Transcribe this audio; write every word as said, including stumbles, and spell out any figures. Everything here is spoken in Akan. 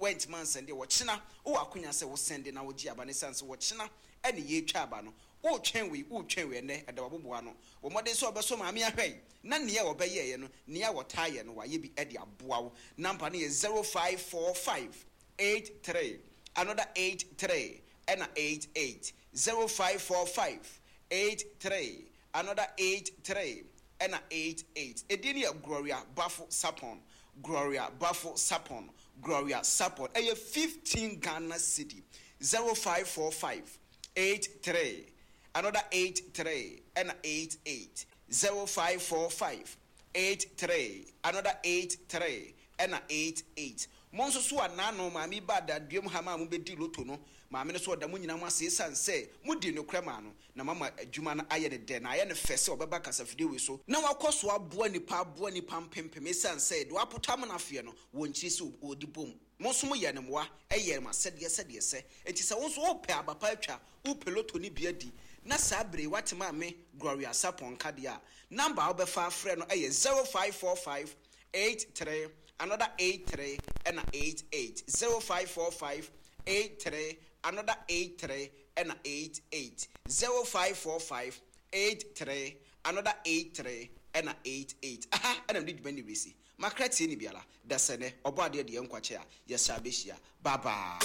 Woantumi ansɛnde a, ɔkyena wowɔ akonya sɛ wosɛnde na wogye aba no ɛsiane sɛ ɔkyena ɛne yɛretwa aba no. Woretwɛn wei, woretwɛn wei, ɛnnɛ ɛda w'aboboa ano. Bɔ mmɔden sɛ wobɛsɔ maame ahwɛ yi na nea ɔbɛyɛeɛ no, nea wɔtaa yɛ no, wayɛ bi de aboa wo. Number no yɛ zero five four five eight three another eight three ɛna eight eight, zero five four five eight three another eight three ɛna eight eight. Edin no yɛ Gloria Bafo Sarpong, Gloria Bafo Sarpong, Gloria Sarpong. Ɛyɛ fifteen Ghana cedi, zero five four five eight three another eight three ɛna eight eight, zero five four five eight three another eight three ɛna eight eight. Mo nso so a naano maame yi baa daduam ha maa mobɛdii loto no, maame no so ɔda mo nyinaa mo ase esiane sɛ modii nokorɛ maa no, na moama adwuma no ayɛ no dɛ na ayɛ no fɛ sɛ ɔbɛba kasafidie wei so na wakɔ so aboa nnipa aboa nnipa mpempem esiane sɛ deɛ wapoto amena afeɛ no wɔ nkyiri sɛ ɔdi bom. Mo nso moyɛɛ no mmoa, ɛyɛɛ mo asɛdeɛ sɛdeɛ ɛsɛ. Enti sɛ wo nso wopɛ aba pa atwa, wopɛ loto no bi adi, na saa berɛ yi woate Maame Gloria Sarpong nka deɛ a, number a wobɛfa afrɛ no yɛ zero five four five eight three another eight three ɛna eight eight, zero five four five eight three another eight three ɛna eight eight, zero five four five eight three another eight three ɛna eight eight. Aha ɛna mede dwuma no resi. Makra tie ne biara. Dasɛnɛ, Ɔbɔadeɛ de yɛn nkwa kyɛ a, yɛsan bɛhyia. Bye bye.